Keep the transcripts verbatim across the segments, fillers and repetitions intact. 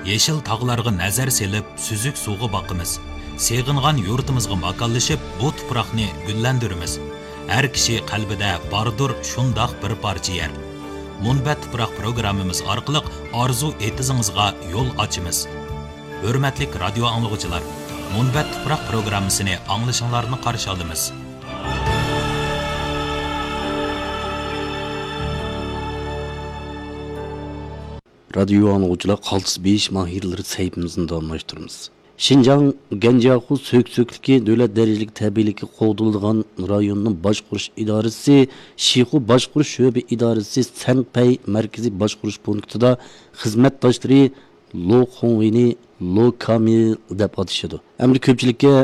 يېشىل تاغلارغا نەزەر سېلىپ، سۈزۈك سۇغا باقىمىز. سېغىنغان يۇرتىمىزغا ماكانلىشىپ، بۇ تۇپراقنى گۈللەندۈرىمىز. ھەر كىشى قەلبىدە باردۇر شۇنداق بىر پارچە يەر. مۇنبەت تۇپراق پروگراممىمىز ئارقىلىق ئارزۇ ئېتىزىڭىزغا يول ئاچىمىز. ھۆرمەتلىك رادىيو ئاڭلىغۇچىلار، مۇنبەت تۇپراق پروگراممىسىنى ئاڭلىشىڭلارنى قارشى ئالىمىز. رادىيو ئاڭلىغۇچىلار، قالتىس بېيىش ماھىرلىرى سەھىپىمىزنى داۋاملاشتۇرىمىز. شىنجاڭ گەنجياخۇ سۆكسۆكلۈكى دۆلەت دەرىجىلىك تەبىئىيلىكى قوغدىلىدىغان رايوننىڭ باشقۇرۇش ئىدارىسى شىخۇ باشقۇرۇش شۆبە ئىدارىسى سەنپەي مەركىزىي باشقۇرۇش پونكىتىدا خىزمەتداشلىرى لو خۇڭۋېينى لو كامىل دەپ ئاتىشىدۇ. ئەمدى كۆپچىلىككە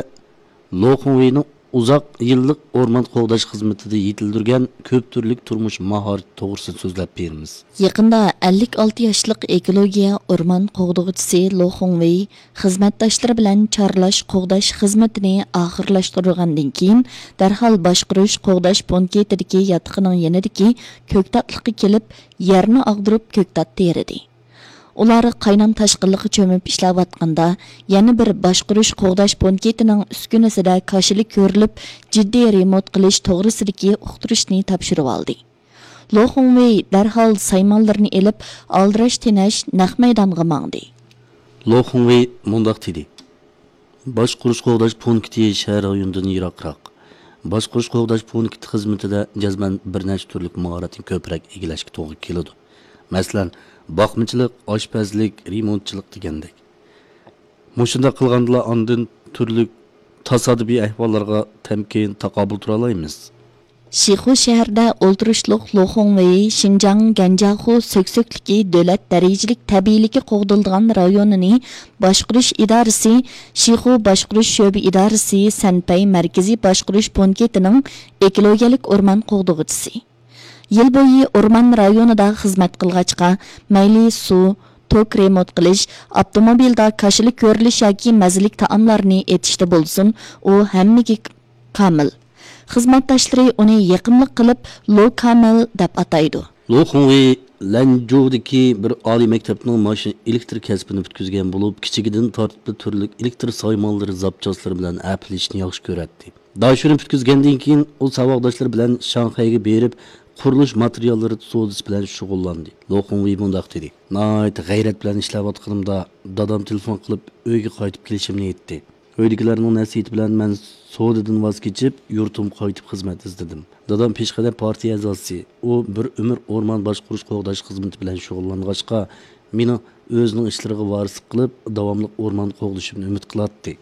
لو خۇڭۋېينىڭ ئۇزاق يىللىق ئورمان قوغداش خىزمىتىدە يېتىلدۈرگەن كۆپ تۈرلۈك تۇرمۇش ماھارىتى توغرىسىدا سۆزلەپ بېرىمىز. يېقىندا ئەللىك ئالتە ياشلىق ئېكولوگىيە ئورمان قوغدىغۇچىسى لو خۇڭۋېي خىزمەتداشلىرى بىلەن چارلاش قوغداش خىزمىتىنى ئاخىرلاشتۇرغاندىن كېيىن، دەرھال باشقۇرۇش قوغداش پونكىتىدىكى ياتىقىنىڭ يېنىدىكى كۆكتاتلىققا كېلىپ، يەرنى ئاغدۇرۇپ كۆكتات تېرىدى. ئۇلار قاينام تاشقىنلىققا چۆمۈپ ئىشلەۋاتقاندا، يەنە بىر باشقۇرۇش قوغداش پونكىتىنىڭ ئۈسكۈنىسىدە كاشىلا كۆرۈلۈپ، جىددىي رېمونت قىلىش توغرىسىدىكى ئۇقتۇرۇشنى تاپشۇرۇۋالدى. لو خۇڭۋېي دەرھال سايمانلىرىنى ئېلىپ، ئالدىراش تېنەش نەق مەيدانغا ماڭدى. لو خۇڭۋېي مۇنداق دېدى: باشقۇرۇش قوغداش پونكىتى شەھەر رايونىدىن يىراقراق. باشقۇرۇش قوغداش پونكىتى خىزمىتىدە جەزمەن بىر نەچچە تۈرلۈك ماھارەتنى كۆپرەك ئىگىلەشكە توغرا كېلىدۇ. مەسىلەن، باقمىچىلىق، ئاشپەزلىك، رېمونتچىلىق دېگەندەك. مۇشۇنداق قىلغاندىلا ئاندىن تۈرلۈك تاسادىپىي ئەھۋاللارغا تەمكىن تاقابىل تۇرالايمىز. شىخۇ شەھىرىدە ئولتۇرۇشلۇق لو خۇڭۋېي شىنجاڭ گەنجياخۇ سۆكسۆكلۈكى دۆلەت دەرىجىلىك تەبىئىيلىكى قوغدىلىدىغان رايونىنى باشقۇرۇش ئىدارىسى، شىخۇ باشقۇرۇش شۆبە ئىدارىسى سەنپەي مەركىزىي باشقۇرۇش پونكىتىنىڭ ئېكولوگىيەلىك ئورمان قوغدىغۇچىسى. يىل بويى ئورمان رايونىدا خىزمەت قىلغاچقا، مەيلى سۇ، توك رېمونت قىلىش، ئاپتوموبىلدا كاشىلا كۆرۈلۈش ياكى مەززىلىك تائاملارنى ئېتىشتا بولسۇن، ئۇ ھەممىگە كامىل. خىزمەتداشلىرى ئۇنى يېقىملىق قىلىپ لو كامىل دەپ ئاتايدۇ. لو خۇڭۋېي لەنجۇدىكى بىر ئالىي مەكتەپنىڭ ماشىنا ئېلېكتىر كەسپىنى پۈتكۈزگەن بولۇپ، كىچىكىدىن تارتىپلا تۈرلۈك ئېلېكتىر سايمانلىرى زاپچاسلىرى بىلەن ئەپلىشىشنى ياخشى كۆرەتتى. داشۆنى پۈتكۈزگەندىن كېيىن، ئۇ ساۋاقداشلىرى بىلەن شاڭخەيگە بېرىپ، قۇرۇلۇش ماتېرىياللىرى سودىسى بىلەن شۇغۇللاندى. لو خۇڭۋېي مۇنداق دېدى: ناھايىتى غەيرەت بىلەن ئىشلەۋاتقىنىمدا، دادام تېلېفون قىلىپ، ئۆيگە قايتىپ كېلىشىمنى ئېيتتى. ئۆيدىكىلەرنىڭ نەسىھىتى بىلەن مەن سودىدىن ۋاز كېچىپ، يۇرتۇمغا قايتىپ خىزمەت ئىزدىدىم. دادام پېشقەدەم پارتىيە ئەزاسى. ئۇ بىر ئۆمۈر ئورمان باشقۇرۇش قوغداش خىزمىتى بىلەن شۇغۇللانغاچقا، مېنىڭ ئۆزىنىڭ ئىشلىرىغا ۋارىسلىق قىلىپ، داۋاملىق ئورمان قوغدىشىمنى ئۈمىد قىلاتتى.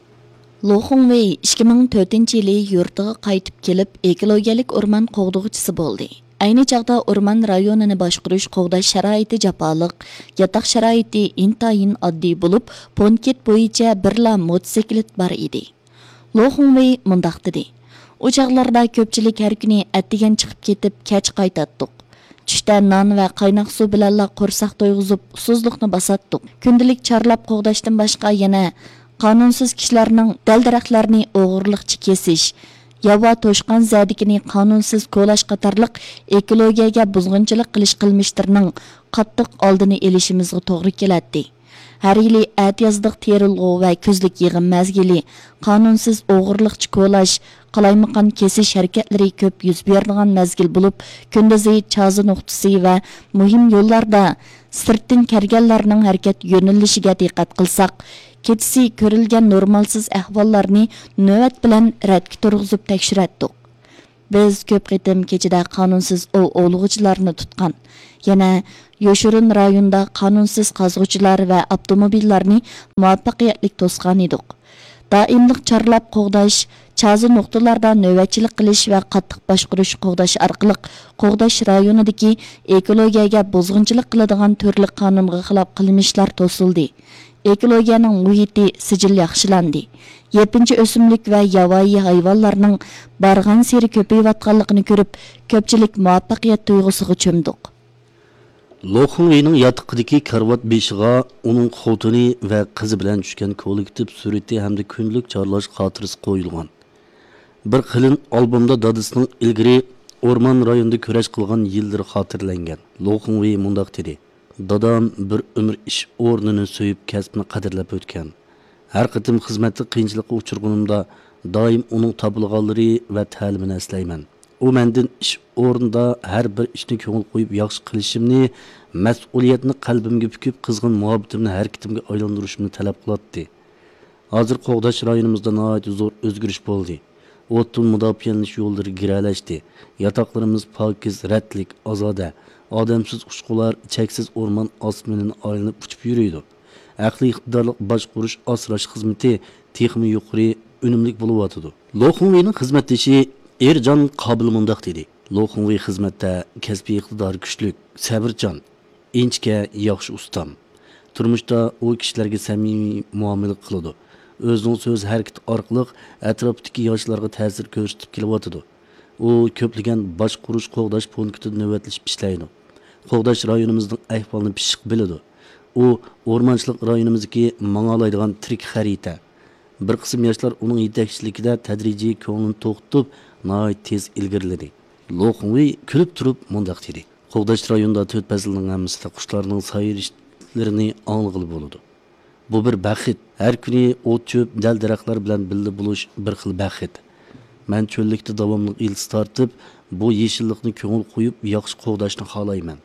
لو خۇڭۋېي ئىككى مىڭ تۆتىنچى يىلى يۇرتىغا قايتىپ كېلىپ، ئېكولوگىيەلىك ئورمان قوغدىغۇچىسى بولدى. ئەينى چاغدا ئورمان رايونىنى باشقۇرۇش، قوغداش شارائىتى جاپالىق، ياتاق شارائىتى ئىنتايىن ئاددىي بولۇپ، پونكىت بويىچە بىرلا موتوسىكلىت بار ئىدى. لو خۇڭۋېي مۇنداق دېدى: ئۇ چاغلاردا كۆپچىلىك ھەر كۈنى ئەتىگەن چىقىپ كېتىپ، كەچ قايتاتتۇق. چۈشتە نان ۋە قايناق سۇ بىلەنلا قورساق تويغۇزۇپ، ئۇسسۇزلۇقنى باساتتۇق. كۈندىلىك چارلاپ قوغداشتىن باشقا يەنە قانۇنسىز كىشىلەرنىڭ دەل-دەرەخلەرنى ئوغرىلىقچە كېسىش، ياۋا توشقان زەدىكىنى قانۇنسىز كولاش قاتارلىق ئېكولوگىيەگە بۇزغۇنچىلىق قىلىش قىلمىشلىرىنىڭ قاتتىق ئالدىنى ئېلىشىمىزغا توغرا كېلەتتى. ھەر يىلى ئەتىيازلىق تېرىلغۇ ۋە كۈزلۈك يىغىم مەزگىلى، قانۇنسىز ئوغرىلىقچە كولاش، قالايمىقان كېسىش ھەرىكەتلىرى كۆپ يۈز بېرىدىغان مەزگىل بولۇپ، كۈندۈزى چازا نۇقتىسى ۋە مۇھىم يوللاردا سىرتتىن كەلگەنلەرنىڭ ھەرىكەت يۆنىلىشىگە دىققەت قىلساق، كېچىسى كۆرۈلگەن نورمالسىز ئەھۋاللارنى نۆۋەت بىلەن رەتكە تۇرغۇزۇپ تەكشۈرەتتۇق. بىز كۆپ قېتىم كېچىدە قانۇنسىز ئوۋ ئوۋلىغۇچىلارنى تۇتقان، يەنە يوشۇرۇن رايوندا قانۇنسىز قازغۇچىلار ۋە ئاپتوموبىللارنى مۇۋەپپەقىيەتلىك توسقانىدۇق. دائىملىق چارلاپ قوغداش، چازا نۇقتىلاردا نۆۋەتچىلىك قىلىش ۋە قاتتىق باشقۇرۇش قوغداش ئارقىلىق قوغداش رايونىدىكى ئېكولوگىيەگە بۇزغۇنچىلىق قىلىدىغان تۈرلۈك قانۇنغا خىلاپ قىلمىشلار توسۇلدى. ئېكولوگىيەنىڭ مۇھىتى سىجىل ياخشىلاندى. يېپىنچا ئۆسۈملۈك ۋە ياۋايى ھايۋانلارنىڭ بارغانسېرى كۆپىيىۋاتقانلىقىنى كۆرۈپ، كۆپچىلىك مۇۋەپپەقىيەت تۇيغۇسىغا چۆمدۇق. لو خۇڭۋېينىڭ ياتىقىدىكى كارىۋات بېشىغا ئۇنىڭ خوتۇنى ۋە قىزى بىلەن چۈشكەن كوللېكتىپ سۈرىتى ھەمدە كۈندىلىك چارلاش خاتىرىسى قويۇلغان. بىر قېلىن ئالبومدا دادىسىنىڭ ئىلگىرى ئورمان رايونىدا كۈرەش قىلغان يىللىرى خاتىرىلەنگەن. لو خۇڭۋېي مۇنداق دېدى: دادام بىر ئۆمۈر ئىش ئورنىنى سۆيۈپ، كەسپىنى قەدىرلەپ ئۆتكەن. ھەر قېتىم خىزمەتتە قىيىنچىلىققا ئۇچرىغىنىمدا، دائىم ئۇنىڭ تاپىلىغانلىرى ۋە تەلىمىنى ئەسلەيمەن. ئۇ مەندىن ئىش ئورنىدا ھەر بىر ئىشنى كۆڭۈل قويۇپ ياخشى قىلىشىمنى، مەسئۇلىيەتنى قەلبىمگە پۈكۈپ، قىزغىن مۇھەببىتىمنى ھەرىكىتىمگە ئايلاندۇرۇشۇمنى تەلەپ قىلاتتى. ھازىر قوغداش رايونىمىزدا ناھايىتى زور ئۆزگىرىش بولدى. ئوتتىن مۇداپىئەلىنىش يوللىرى گىرەلەشتى. ياتاقلىرىمىز پاكىز، رەتلىك، ئازادە. ئادەمسىز ئۇچقۇلار، چەكسىز ئورمان ئاسمىنىنى ئايلىنىپ ئۇچۇپ يۈرىدۇ. ئەقلىي ئىقتىدارلىق باشقۇرۇش، ئاسراش خىزمىتى تېخىمۇ يۇقىرى ئۈنۈملۈك بولۇۋاتىدۇ. لو خۇڭۋېينىڭ خىزمەتدىشى ئېرجان قابىل مۇنداق دېدى: لو خۇڭۋېي خىزمەتتە كەسپىي ئىقتىدارى كۈچلۈك، سەۋرچان، ئىنچىكە، ياخشى ئۇستام. تۇرمۇشتا ئۇ كىشىلەرگە سەمىمىي مۇئامىلە قىلىدۇ. ئۆزىنىڭ سۆز ھەرىكىتى ئارقىلىق ئەتراپتىكى ياشلارغا تەسىر كۆرسىتىپ كېلىۋاتىدۇ. ئۇ كۆپلىگەن باشقۇرۇش، قوغداش پونكىتىدا نۆۋەتلىشىپ ئىشلەيدۇ. قوغداش رايونىمىزنىڭ ئەھۋالىنى پىششىق بىلىدۇ. ئۇ ئورمانچىلىق رايونىمىزدىكى ماڭالايدىغان تىرىك خەرىتە. بىر قىسىم ياشلار ئۇنىڭ يېتەكچىلىكىدە تەدرىجىي كۆڭلىنى توختىتىپ، ناھايىتى تېز ئىلگىرىلىدى. لو خۇڭۋېي كۈلۈپ تۇرۇپ مۇنداق دېدى: قوغداش رايونىدا تۆت پەسىلنىڭ ھەممىسىدە قۇشلارنىڭ سايرىشلىرىنى ئاڭلىغىلى بولىدۇ. بۇ بىر بەخت. ھەر كۈنى ئوت-چۆپ، دەل-دەرەخلەر بىلەن بىللە بولۇش بىر خىل بەخت. مەن چۆللۈكتە داۋاملىق يىلتىز تارتىپ، بۇ يېشىللىقنى كۆڭۈل قويۇپ ياخشى قوغداشنى خالايمەن.